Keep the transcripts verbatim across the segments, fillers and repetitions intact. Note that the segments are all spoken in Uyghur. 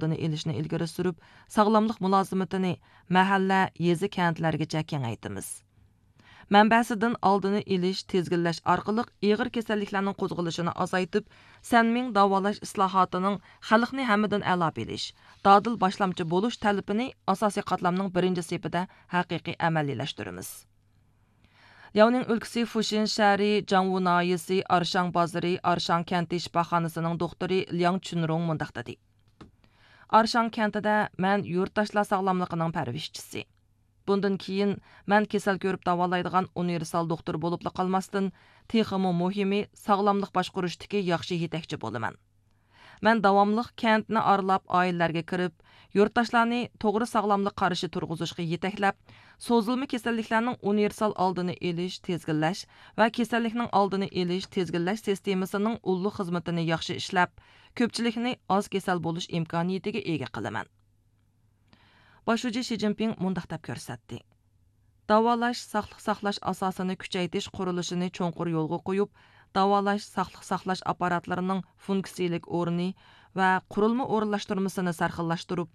ئالدىنى ئېلىشنى ئىلگىرى سۈرۈپ، ساغلاملىق مۇلازىمىتىنى مەھەللە، يېزا، كەنتلەرگىچە كېڭەيتىمىز. مەنبەسىدىن ئالدىنى ئېلىش، تىزگىنلەش ئارقىلىق ئېغىر كېسەللىكلەرنىڭ قوزغىلىشىنى ئازايتىپ، سەنمىڭ داۋالاش ئىسلاھاتىنىڭ خەلقنى ھەممىدىن ئەلا بىلىش، دادىل باشلامچى بولۇش تەلىپىنى ئاساسىي قاتلامنىڭ بىرىنچى سېپىدە ھەقىقىي ئەمەلىيلەشتۈرىمىز. لياۋنىڭ ئۆلكىسى فۇشىن شەھىرى جاڭۋۇ ناھىيەسى ئارشاڭ بازىرى ئارشاڭ كەنتى شىپاخانىسىنىڭ دوختۇرى لياڭ چۈنرۇڭ مۇنداق دېدى: ئارشاڭ كەنتىدە مەن يۇرتداشلار ساغلاملىقىنىڭ پەرۋىشچىسى. بۇندىن كېيىن مەن كېسەل كۆرۈپ داۋالايدىغان ئۇنىۋېرسال دوختۇر بولۇپلا قالماستىن، تېخىمۇ مۇھىمى، ساغلاملىق باشقۇرۇشتىكى ياخشى يېتەكچى بولىمەن. مەن داۋاملىق كەنتنى ئارىلاپ، ئائىلىلەرگە كىرىپ، يۇرتداشلارنى توغرا ساغلاملىق قارىشى تۇرغۇزۇشقا يېتەكلەپ، سوزۇلما كېسەللىكلەرنىڭ ئۇنىۋېرسال ئالدىنى ئېلىش، تىزگىنلەش ۋە كېسەللىكنىڭ ئالدىنى ئېلىش، تىزگىنلەش سىستېمىسىنىڭ ئۇللۇق خىزمىتىنى ياخشى ئىشلەپ، كۆپچىلىكنى ئاز كېسەل بولۇش ئىمكانىيىتىگە ئىگە قىلىمەن. باش شۇجى شى جىنپىڭ مۇنداق دەپ كۆرسەتتى: داۋالاش، ساقلىق ساقلاش ئاساسىنى كۈچەيتىش قۇرۇلۇشىنى چوڭقۇر يولغا قويۇپ، داۋالاش، ساقلىق ساقلاش ئاپپاراتلىرىنىڭ فۇنكسىيىلىك ئورنى ۋە قۇرۇلما ئورۇنلاشتۇرمىسىنى سەرخىللاشتۇرۇپ،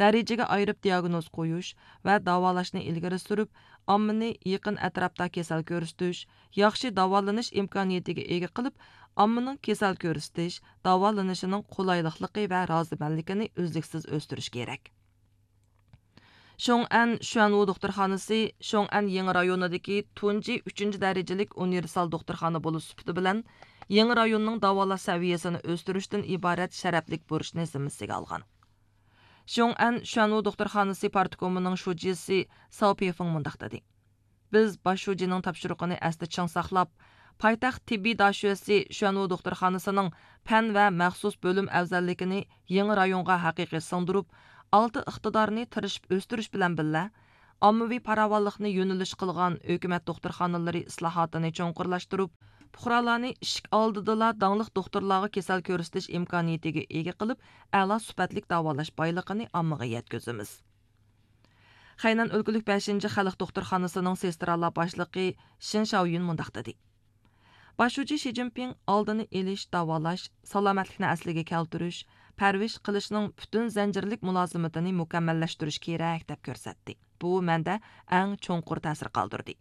دەرىجىگە ئايرىپ دىئاگنوز قويۇش ۋە داۋالاشنى ئىلگىرى سۈرۈپ، ئاممىنى يېقىن ئەتراپتا كېسەل كۆرسىتىش، ياخشى داۋالىنىش ئىمكانىيىتىگە ئىگە قىلىپ، ئاممىنىڭ كېسەل كۆرسىتىش، داۋالىنىشىنىڭ قولايلىقلىقى ۋە رازىمەنلىكىنى ئۈزلۈكسىز ئۆستۈرۈش كېرەك. شيوڭئەن شۈەنۋۇ دوختۇرخانىسى شيوڭئەن يېڭى رايونىدىكى تۇنجى ئۈچىنچى دەرىجىلىك ئۇنىۋېرسال دوختۇرخانا بولۇش سۈپىتى بىلەن يېڭى رايوننىڭ داۋالاش سەۋىيەسىنى ئۆستۈرۈشتىن ئىبارەت شەرەپلىك بۇرچنى زىممىسىگە ئالغان. شيوڭئەن شۈەنۋۇ دوختۇرخانىسى پارتكومىنىڭ شۇجىسى ساۋ پىفېڭ مۇنداق دېدى: بىز باش شۇجىنىڭ تاپشۇرۇقىنى ئەستە چىڭ ساقلاپ، پايتەخت تېببىي داشۆسى شۈەنۋۇ دوختۇرخانىسىنىڭ پەن ۋە مەخسۇس بۆلۈم ئەۋزەللىكىنى يېڭى رايونغا ھەقىقىي سىڭدۈرۈپ، ئالتە ئىقتىدارنى تىرىشىپ ئۆستۈرۈش بىلەن بىللە، ئاممىۋى پاراۋانلىقنى يۆنىلىش قىلغان ھۆكۈمەت دوختۇرخانىلىرى ئىسلاھاتىنى چوڭقۇرلاشتۇرۇپ، پۇقرالارنى ئىشىك ئالدىدىلا داڭلىق دوختۇرلارغا كېسەل كۆرسىتىش ئىمكانىيىتىگە ئىگە قىلىپ، ئەلا سۈپەتلىك داۋالاش بايلىقىنى ئاممىغا يەتكۈزىمىز. خەينەن ئۆلكىلىك بەشىنچى خەلق دوختۇرخانىسىنىڭ سېسترالار باشلىقى شىن شاۋيۈن مۇنداق دېدى: باش شۇجى شى جىنپىڭ ئالدىنى ئېلىش، داۋالاش، سالامەتلىكنى ئەسلىگە كەلتۈرۈش، پەرۋىش قىلىشنىڭ پۈتۈن زەنجىرلىك مۇلازىمىتىنى مۇكەممەللەشتۈرۈش كېرەك، دەپ كۆرسەتتى. بۇ مەندە ئەڭ چوڭقۇر تەسىر قالدۇردى.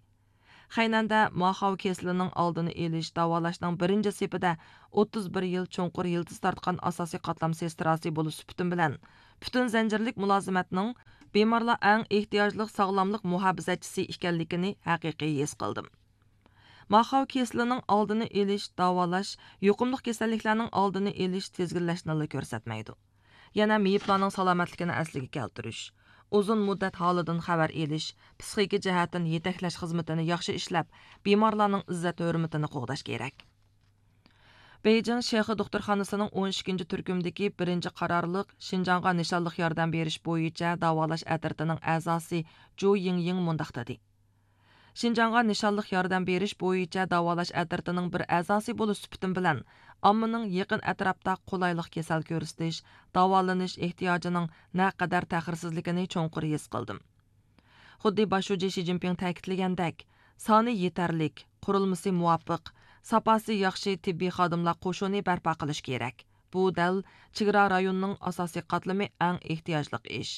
خەينەندە ماخاۋ كېسىلىنىڭ ئالدىنى ئېلىش، داۋالاشنىڭ بىرىنچى سېپىدە ئوتتۇز بىر يىل چوڭقۇر يىلتىز تارتقان ئاساسىي قاتلام سېستراسى بولۇش سۈپىتىم بىلەن، پۈتۈن زەنجىرلىك مۇلازىمەتنىڭ بىمارلار ئەڭ ئېھتىياجلىق ساغلاملىق مۇھاپىزەتچىسى ئىكەنلىكىنى ھەقىقىي ھېس قىلدىم. ماخاۋ كېسىلىنىڭ ئالدىنى ئېلىش، داۋالاش، يۇقۇملۇق كېسەللىكلەرنىڭ ئالدىنى ئېلىش، تىزگىنلەشنىلا كۆرسەتمەيدۇ. يەنە مېيىپلارنىڭ سالامەتلىكىنى ئەسلىگە كەلتۈرۈش، ئۇزۇن مۇددەت ھالىدىن خەۋەر ئېلىش، پىسخىكا جەھەتتىن يېتەكلەش خىزمىتىنى ياخشى ئىشلەپ، بىمارلارنىڭ ئىززەت ھۆرمىتىنى قوغداش كېرەك. بېيجىڭ شېخې دوختۇرخانىسىنىڭ ئون ئىككىنچى تۈركۈمدىكى بىرىنچى قارارلىق شىنجاڭغا نىشانلىق ياردەم بېرىش بويىچە داۋالاش ئەترىتىنىڭ ئەزاسى جۇ يىڭيىڭ مۇنداق دېدى: شىنجاڭغا نىشانلىق ياردەم بېرىش بويىچە داۋالاش ئەترىتىنىڭ بىر ئەزاسى بولۇش سۈپىتىم بىلەن، ئاممىنىڭ يېقىن ئەتراپتا قولايلىق كېسەل كۆرسىتىش، داۋالىنىش ئېھتىياجىنىڭ نەقەدەر تەخىرسىزلىكىنى چوڭقۇر ھېس قىلدىم. خۇددى باش شۇجى شى جىنپىڭ تەكىتلىگەندەك، سانى يېتەرلىك، قۇرۇلمىسى مۇۋاپىق، ساپاسى ياخشى تېببىي خادىملار قوشۇنى بەرپا قىلىش كېرەك. بۇ دەل چېگرا رايونىنىڭ ئاساسىي قاتلىمى ئەڭ ئېھتىياجلىق ئىش.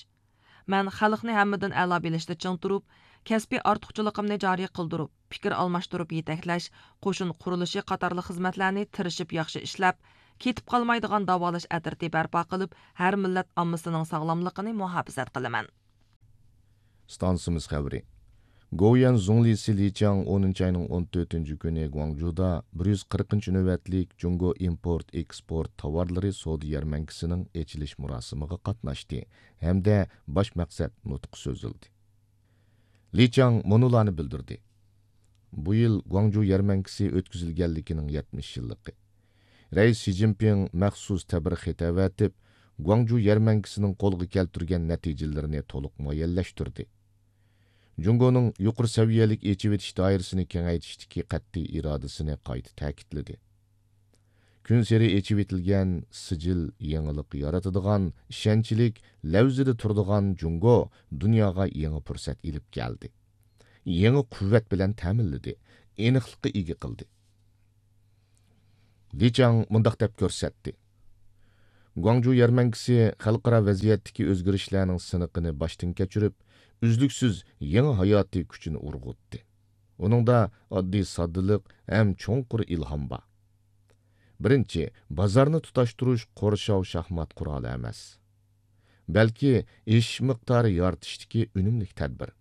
مەن خەلقنى ھەممىدىن ئەلا بىلىشتە چىڭ تۇرۇپ، كەسپىي ئارتۇقچىلىقىمنى جارى قىلدۇرۇپ، پىكىر ئالماشتۇرۇپ يېتەكلەش، قوشۇن قۇرۇلۇشى قاتارلىق خىزمەتلەرنى تىرىشىپ ياخشى ئىشلەپ، كېتىپ قالمايدىغان داۋالاش ئەترىتى بەرپا قىلىپ، ھەر مىللەت ئاممىسىنىڭ ساغلاملىقىنى مۇھاپىزەت قىلىمەن. ئىستانسىمىز خەۋىرى. گوۋۇيۈەن زۇڭلىسى لى چياڭ ئونىنچى ئاينىڭ ئون تۆتىنچى كۈنى گۇاڭجۇدا بىر يۈز قىرىقىنچى نۆۋەتلىك جۇڭگو ئىمپورت ئېكسپورت تاۋارلىرى سودا يەرمەنكىسىنىڭ ئېچىلىش مۇراسىمىغا قاتناشتى ھەمدە باش مەقسەت نۇتقى سۆزلىدى. لى چياڭ مۇنۇلارنى بىلدۈردى: بۇ يىل گۇاڭجۇ يەرمەنكىسى ئۆتكۈزۈلگەنلىكىنىڭ يەتمىش يىللىقى. رەئىس شى جىنپىڭ مەخسۇس تەبرىخ خېتى ئەۋەتىپ، گۇاڭجۇ يەرمەنكىسىنىڭ قولغا كەلتۈرگەن نەتىجىلىرىنى تولۇق مۇئەييەنلەشتۈردى. جۇڭگونىڭ يۇقىرى سەۋىيەلىك ئېچىۋېتىش دائىرىسىنى كېڭەيتىشتىكى قەتئىي ئىرادىسىنى قايتا تەكىتلىدى. كۈنسېرى ئېچىۋېتىلگەن سىجىل يېڭىلىق يارىتىدىغان، ئىشەنچلىك، لەۋزىدە تۇرىدىغان جۇڭگو دۇنياغا يېڭى پۇرسەت ئېلىپ كەلدى. يېڭى قۇۋۋەت بىلەن تەمىنلىدى، ئېنىقلىققا ئىگە قىلدى. لى چياڭ مۇنداق دەپ كۆرسەتتى: گۇاڭجۇ يەرمەنكىسى خەلقئارا ۋەزىيەتتىكى ئۆزگىرىشلەرنىڭ سىنىقىنى باشتىن كەچۈرۈپ، ئۈزلۈكسىز يېڭى ھاياتىي كۈچىنى ئۇرغۇتتى. ئۇنىڭدا ئاددىي ساددىلىق ھەم چوڭقۇر ئىلھام بار. بىرىنچى، بازارنى تۇتاشتۇرۇش قورشاۋ شاھمات قورالى ئەمەس، بەلكى ئېشىش مىقدارى يارىتىشتىكى ئۈنۈملۈك تەدبىر.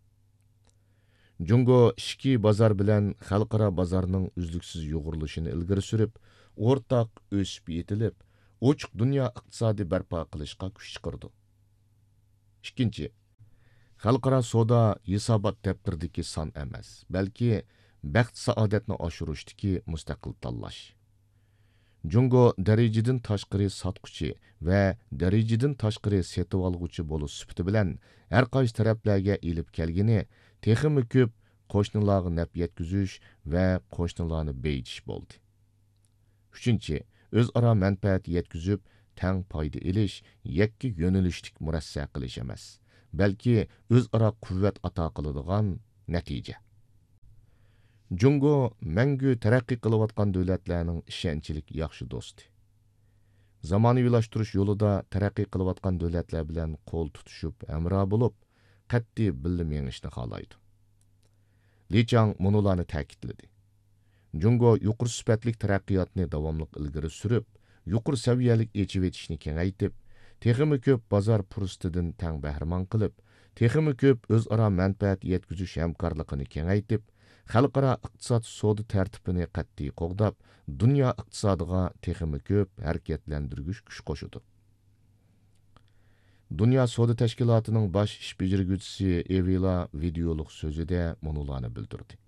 جۇڭگو ئىچكى بازار بىلەن خەلقئارا بازارنىڭ ئۈزلۈكسىز يۇغۇرۇلۇشىنى ئىلگىرى سۈرۈپ، ئورتاق ئۆسۈپ يېتىلىپ، ئوچۇق دۇنيا ئىقتىسادى بەرپا قىلىشقا كۈچ چىقىرىدۇ. ئىككىنچى، خەلقئارا سودا ھېسابات دەپتىرىدىكى سان ئەمەس، بەلكى بەخت-سائادەتنى ئاشۇرۇشتىكى مۇستەقىل تاللاش. جۇڭگو دەرىجىدىن تاشقىرى ساتقۇچى ۋە دەرىجىدىن تاشقىرى سېتىۋالغۇچى بولۇش سۈپىتى بىلەن، ھەر قايسى تەرەپلەرگە ئېلىپ كەلگىنى تېخىمۇ كۆپ قوشنىلارغا نەپ يەتكۈزۈش ۋە قوشنىلارنى بېيىتىش بولدى. ئۈچىنچى، ئۆزئارا مەنپەئەت يەتكۈزۈپ، تەڭ پايدا ئېلىش، يەككە يۆنىلىشلىك مۇرەسسە قىلىش ئەمەس، بەلكى ئۆزئارا قۇۋۋەت ئاتا قىلىدىغان نەتىجە. جۇڭگو مەڭگۈ تەرەققىي قىلىۋاتقان دۆلەتلەرنىڭ ئىشەنچلىك ياخشى دوستى. زامانىۋىلاشتۇرۇش يولىدا تەرەققىي قىلىۋاتقان دۆلەتلەر بىلەن قول تۇتۇشۇپ ھەمراھ بولۇپ، قەتئىي بىللە مېڭىشنى خالايدۇ. لى چاڭ مۇنۇلارنى تەكىتلىدى: جۇڭگو يۇقىرى سۈپەتلىك تەرەققىياتنى داۋاملىق ئىلگىرى سۈرۈپ، يۇقىرى سەۋىيەلىك ئېچىۋېتىشنى كېڭەيتىپ، تېخىمۇ كۆپ بازار پۇرسىتىدىن تەڭ بەھرىمەن قىلىپ، تېخىمۇ كۆپ ئۆزئارا مەنپەئەت يەتكۈزۈش ھەمكارلىقىنى كېڭەيتىپ، خەلقئارا ئىقتىساد سودا تەرتىپىنى قەتئىي قوغداپ، دۇنيا ئىقتىسادىغا تېخىمۇ كۆپ ھەرىكەتلەندۈرگۈچ كۈچ قوشىدۇ. دۇنيا سودا تەشكىلاتىنىڭ باش ئىش بېجىرگۈچىسى ئېۋىلا ۋىدېئولۇق سۆزىدە مۇنۇلارنى بىلدۈردى: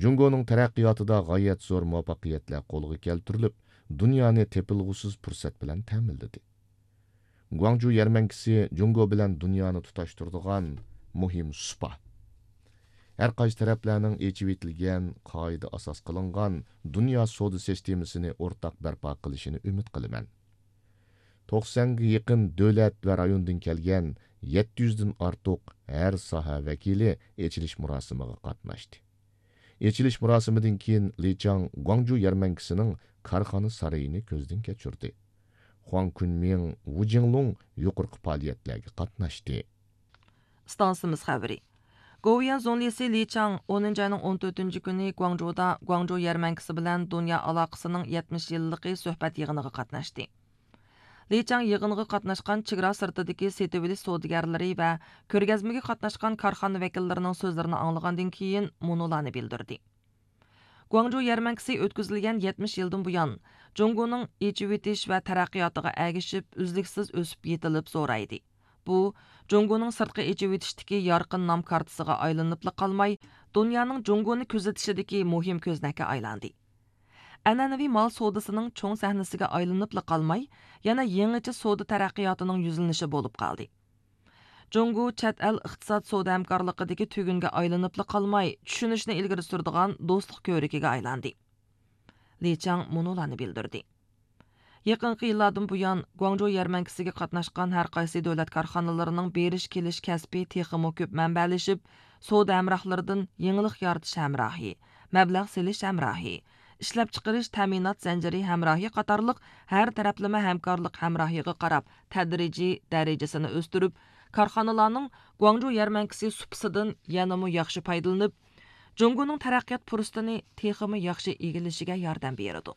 جۇڭگونىڭ تەرەققىياتىدا غايەت زور مۇۋەپپەقىيەتلەر قولغا كەلتۈرۈلۈپ، دۇنيانى تېپىلغۇسىز پۇرسەت بىلەن تەمىنلىدى. گۇاڭجۇ يەرمەنكىسى جۇڭگو بىلەن دۇنيانى تۇتاشتۇرىدىغان مۇھىم سۇپا. ھەر قايسى تەرەپلەرنىڭ ئېچىۋېتىلگەن، قائىدە ئاساس قىلىنغان دۇنيا سودا سىستېمىسىنى ئورتاق بەرپا قىلىشىنى ئۈمىد قىلىمەن. توقسەنگە يېقىن دۆلەت ۋە رايوندىن كەلگەن يەتتە يۈزدىن ئارتۇق ھەر ساھە ۋەكىلى ئېچىلىش مۇراسىمىغا قاتناشتى. ئېچىلىش مۇراسىمىدىن كېيىن لى چاڭ گۇاڭجۇ يەرمەنكىسىنىڭ كارخانا سارىيىنى كۆزدىن كەچۈردى. خۇاڭ كۈنمىڭ، ۋۇ جىڭلۇڭ يۇقىرىقى پائالىيەتلەرگە قاتناشتى. ئىستانسىمىز خەۋىرى. گوۋۇيۈەن زۇڭلىسى لى چاڭ ئونىنچى ئاينىڭ ئون تۆتىنچى كۈنى گۇاڭجۇدا گۇاڭجۇ يەرمەنكىسى بىلەن دۇنيا ئالاقىسىنىڭ يەتمىش يىللىقى سۆھبەت يىغىنىغا قاتناشتى. لى چاڭ يىغىنغا قاتناشقان چېگرا سىرتىدىكى سېتىۋېلىش سودىگەرلىرى ۋە كۆرگەزمىگە قاتناشقان كارخانا ۋەكىللىرىنىڭ سۆزلىرىنى ئاڭلىغاندىن كېيىن مۇنۇلارنى بىلدۈردى. گۇاڭجۇ يەرمەنكىسى ئۆتكۈزۈلگەن يەتمىش يىلدىن بۇيان، جۇڭگونىڭ ئېچىۋېتىش ۋە تەرەققىياتىغا ئەگىشىپ، ئۈزلۈكسىز ئۆسۈپ يېتىلىپ زورايدى. بۇ، جۇڭگونىڭ سىرتقا ئېچىۋېتىشتىكى يارقىن نام كارتىسىغا ئايلىنىپلا قالماي، دۇنيانىڭ جۇڭگونى كۆزىتىشىدىكى مۇھىم كۆزنەككە ئايلاندى. ئەنئەنىۋى مال سودىسىنىڭ چوڭ سەھنىسىگە ئايلىنىپلا قالماي، يەنە يېڭىچە سودا تەرەققىياتىنىڭ يۈزلىنىشى بولۇپ قالدى. جۇڭگو چەت ئەل ئىقتىساد سودا ھەمكارلىقىدىكى تۈگۈنگە ئايلىنىپلا قالماي، چۈشىنىشنى ئىلگىرى سۈرىدىغان دوستلۇق كۆۋرۈكىگە ئايلاندى. لى چاڭ مۇنۇلاردىن بىلدۈردى. يېقىنقى يىللاردىن بۇيان، گۇاڭجۇ يەرمەنكىسىگە قاتناشقان ھەر قايسى دۆلەت كارخانىلىرىنىڭ بېرىش كېلىش كەسپى تېخىمۇ كۆپ مەنبەلىشىپ، سودا ھەمراھلىرىدىن يېڭىلىق يارىتىش ھەمراھى، مەبلەغ سېلىش ھەمراھى، ئىشلەپچىقىرىش تەمىنات زەنجىرى ھەمراھى قاتارلىق ھەر تەرەپلىمە ھەمكارلىق ھەمراھىغا قاراپ تەدرىجىي دەرىجىسىنى ئۆستۈرۈپ، كارخانىلارنىڭ گۇاڭجۇ يەرمەنكىسى سۇپىسىدىن يەنىمۇ ياخشى پايدىلىنىپ، جۇڭگونىڭ تەرەققىيات پۇرسىتىنى تېخىمۇ ياخشى ئىگىلىشىگە ياردەم بېرىدۇ.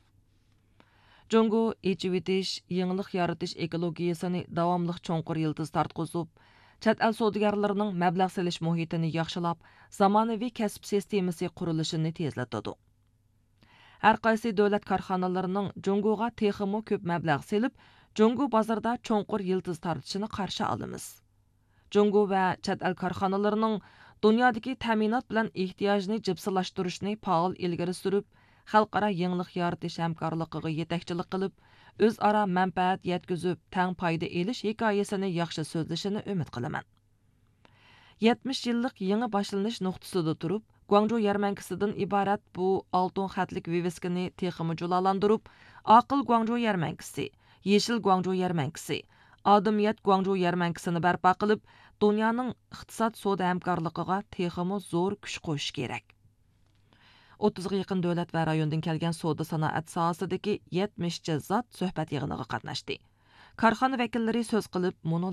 جۇڭگو ئېچىۋېتىش، يېڭىلىق يارىتىش ئېكولوگىيىسىنى داۋاملىق چوڭقۇر يىلتىز تارتقۇزۇپ، چەت ئەل سودىگەرلىرىنىڭ مەبلەغ سېلىش مۇھىتىنى ياخشىلاپ، زامانىۋى كەسىپ سىستېمىسى قۇرۇلۇشىنى تېزلىتىدۇ. ھەر قايسى دۆلەت كارخانىلىرىنىڭ جۇڭگوغا تېخىمۇ كۆپ مەبلەغ سېلىپ، جۇڭگو بازىرىدا چوڭقۇر يىلتىز تارتىشىنى قارشى ئالىمىز. جۇڭگو ۋە چەت ئەل كارخانىلىرىنىڭ دۇنيادىكى تەمىنات بىلەن ئېھتىياجنى جىپسىلاشتۇرۇشنى پائال ئىلگىرى سۈرۈپ، خەلقئارا يېڭىلىق يارىتىش ھەمكارلىقىغا يېتەكچىلىك قىلىپ، ئۆزئارا مەنپەئەت يەتكۈزۈپ، تەڭ پايدا ئېلىش ھېكايىسىنى ياخشى سۆزلىشىنى ئۈمىد قىلىمەن. يەتمىش يىللىق يېڭى باشلىنىش نۇقتىسىدا تۇرۇپ، گۇاڭجۇ يەرمەنكىسىدىن ئىبارەت بۇ ئالتۇن خەتلىك ۋىۋىسكىنى تېخىمۇ جۇلالاندۇرۇپ، ئاقىل گۇاڭجۇ يەرمەنكىسى، يېشىل گۇاڭجۇ يەرمەنكىسى، ئادىمىيەت گۇاڭجۇ يەرمەنكىسىنى بەرپا قىلىپ، دۇنيانىڭ ئىقتىساد سودا ھەمكارلىقىغا تېخىمۇ زور كۈچ قوشۇشى كېرەك. ئوتتۇزغا يېقىن دۆلەت ۋە رايوندىن كەلگەن سودا سانائەت ساھەسىدىكى يەتمىشچە زات سۆھبەت يىغىنىغا قاتناشتى. كارخانا ۋەكىللىرى سۆز قىلىپ، مۇنۇ